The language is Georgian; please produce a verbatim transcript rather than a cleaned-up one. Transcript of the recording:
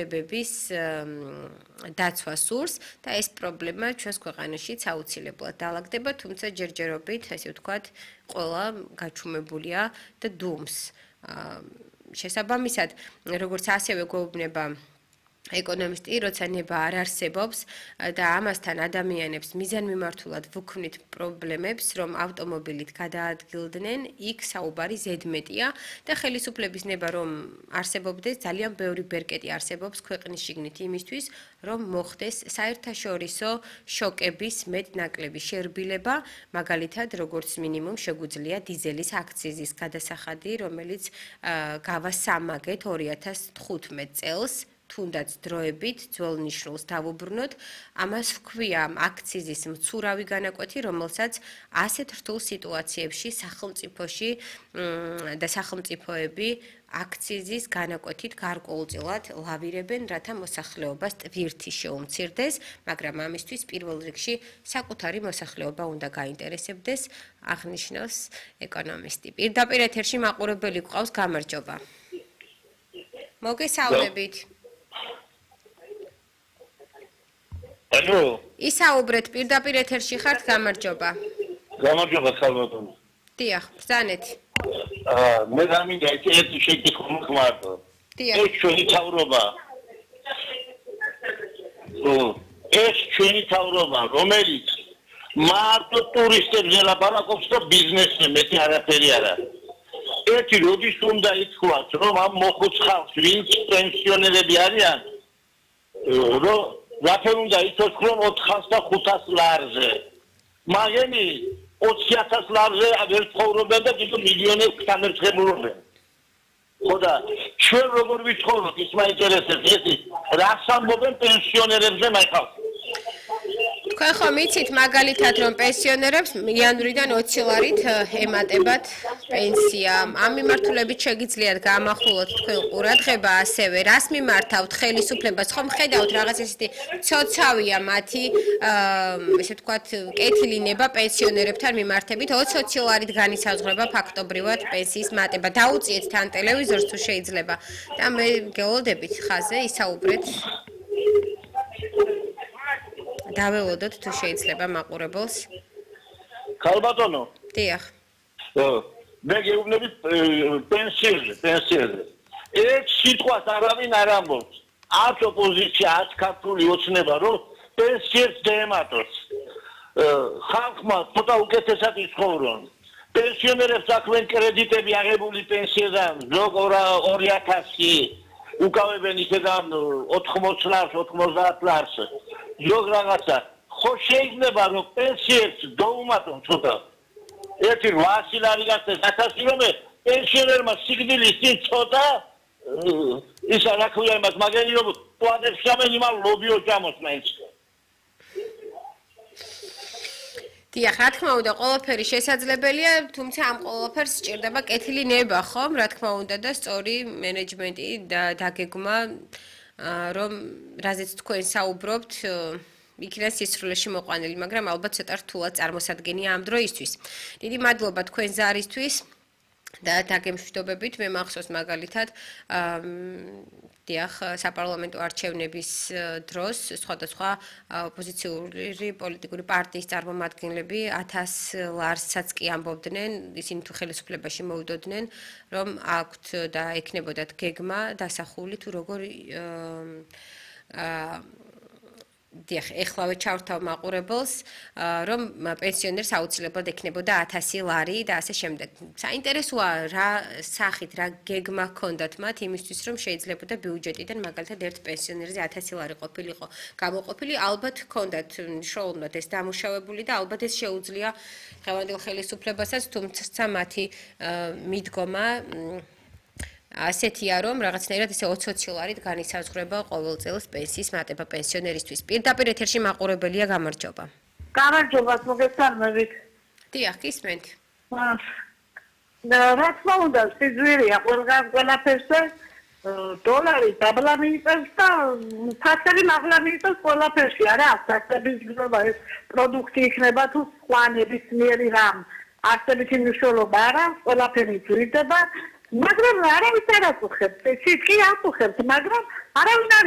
ბების დაცვა სურს და ეს პრობლემა ჩვენს ქვეყანაშიც აუცილებლად დაალაგდება, თუმცა ჯერჯერობით, ასე ვთქვათ, ყველა გაჩუმებულია და დუმს. შესაბამისად, როგორც ასევე გვეუბნება ეკონომისტი, როცა ნება არ არსებობს და ამასთან ადამიანებს მიზანმიმართულად ვუქმნით პრობლემებს, რომ ავტომობილით გადაადგილდნენ, იქ საუბარი ზედმეტია და ხელისუფლების ნება რომ არსებობდეს, ძალიან ბევრი ბერკეტი არსებობს ქვეყნის შიგნით იმისთვის, რომ მოხდეს საერთაშორისო შოკების მეტნაკლები შერბილება, მაგალითად, როგორც მინიმუმ შეგვიძლია დიზელის აქციზის გადასახადი, რომელიც გავასამაგეთ ორი ათას თხუთმეტ წელს. თუნდაც დროებით ძველ ნიშნულს დავუბრუნოთ, ამას ჰქვია აქციზის მცურავი განაკვეთი, რომელსაც ასეთ რთულ სიტუაციებში სახელმწიფოში და სახელმწიფოები აქციზის განაკვეთით გარკვეულწილად ლავირებენ, რათა მოსახლეობას ტვირთი შეუმცირდეს, მაგრამ ამისთვის პირველ რიგში საკუთარი მოსახლეობა უნდა გაინტერესებდეს, აღნიშნავს ეკონომისტი. პირდაპირ ეთერში მაყურებელი გვყავს, გამარჯობა. მოგესალმებით. Алло. ისაუბრეთ, პირდაპირ ეთერში ხართ, გამარჯობა. გამარჯობა, ხალბატონო. დიახ, ბრძანეთ. აა, მე გამინდა ერთი შეკითხვა მოგმართო. დიახ. ეს ჩვენი თავრობა. ო, ეს ჩვენი თავრობა, რომელიც მარტო ტურისტებზე ლაპარაკობს და ბიზნესზე მეტი არაფერი არა. ერთი როდის უნდა ითქვას, რომ ამ მოხუც ხალხს, ვინც პენსიონერები არიან, რომ რაფერ უნდა ითქვას, რომ ოთხას და ხუთას ლარზე. მაგენი ოცი ათას ლარზე აღარ ცხოვრობენ და კიდევ მილიონებს გამერცხებულობენ. ხოდა ჩვენ როგორ ვიცხოვროთ, ის მაინტერესებს, ისი რას ამბობენ პენსიონერებზე მაინტერესებს. თქვენ ხომ იცით მაგალითად რომ პენსიონერებს იანვრიდან ოცი ლარით ემატებათ პენსია. ამ მიმართულებით შეგიძლიათ გაამახვილოთ თქვენ ყურადღება ასევე რას მიმართავთ ხელისუფლებას ხომ ხედავთ რაღაც ესეთი ცოცავია მათი ესე ვთქვათ კეთილი ნება პენსიონერებთან მიმართებით ოცი ლარით განისაზღვრება ფაქტობრივად პენსიის მატება. დაუწიეთ თან ტელევიზორს თუ შეიძლება და მე გეოლდებით ხაზე ისაუბრეთ. დაველოდოთ თუ შეიძლება მაყურებელს. ხალბატონო. დიახ. მე გეუბნები პენსიაზე, პენსიაზე. ეს სიტყვას არავინ არ ამბობს. არც ოპოზიცია, არც ქართული ოცნება, რომ პენსიებს დაემატოს. ხალხმა ცოტა უკეთესად იცხოვრონ. პენსიონერებს აქვენ კრედიტები აღებული პენსიიდან, ზოგ ორი ათასი, უკავებენ ისედან ოთხმოცი ლარს, ოთხმოცდაათ ლარს. ზოგ რაღაცა ხო შეიძლება რომ პენსიებს დაუმატონ ცოტა ერთი რვაასი ლარი გასცეს ათასი რომ პენსიონერმა სიგნალის წინ ცოტა ისა რა ქვია იმას მაგენი რომ პლანებს სამენ იმალ ლობიო ჯამოს მაინც დიახ, რა თქმა უნდა, ყველაფერი შესაძლებელია, თუმცა ამ ყველაფერს სჭირდება კეთილი ნება, ხომ? რა თქმა უნდა და სწორი მენეჯმენტი და დაგეგმა რომ რაზეც თქვენ საუბრობთ, იქნას სისრულეში მოყვანილი, მაგრამ ალბათ ცოტა რთულად წარმოსადგენია ამ დროისთვის. დიდი მადლობა თქვენ ზარისთვის და დაგემშვიდობებით, მე მახსოვს მაგალითად დიახ, საპარლამენტო არჩევნების დროს სხვადასხვა ოპოზიციური პოლიტიკური პარტიის წარმომადგენლები ათას ლარსაც კი ამბობდნენ, ისინი თუ ხელისუფლებაში მოვიდოდნენ, რომ აქვთ და ექნებოდათ გეგმა დასახული თუ როგორ დიახ, ეხლავე ჩავრთავ მაყურებელს, რომ პენსიონერს აუცილებლად ექნებოდა ათასი ლარი და ასე შემდეგ. საინტერესოა რა სახით, რა გეგმა ჰქონდათ მათ იმისთვის, რომ შეიძლებოდა ბიუჯეტიდან მაგალითად ერთ პენსიონერზე ათასი ლარი ყოფილიყო გამოყოფილი, ალბათ ჰქონდათ მნიშვნელოვნად ეს დამუშავებული და ალბათ ეს შეუძლია დღევანდელ ხელისუფლებასაც, თუმცა მათი მიდგომა ასეთია რომ რაღაცნაირად ესე ოცი ლარით განისაზღვრება ყოველ წელს პენსიის მატება პენსიონერისთვის. პირდაპირ ეთერში მაყურებელია, გამარჯობა. გამარჯობა, მოგესალმებით. დიახ, გისმენთ. რა თქმა უნდა, სიძვირეა ყველგან ყველაფერზე დოლარი დაბლა მიიწევს და ფასები მაღლა მიიწევს ყველაფერში, არა, ფასების გზობა ეს პროდუქტი იქნება თუ სხვა ნებისმიერი რამ. არსებითი მნიშვნელობა არა, ყველაფერი ძვირდება. მაგრამ არავის არ აწუხებს, სიტყვი აწუხებს, მაგრამ არავინ არ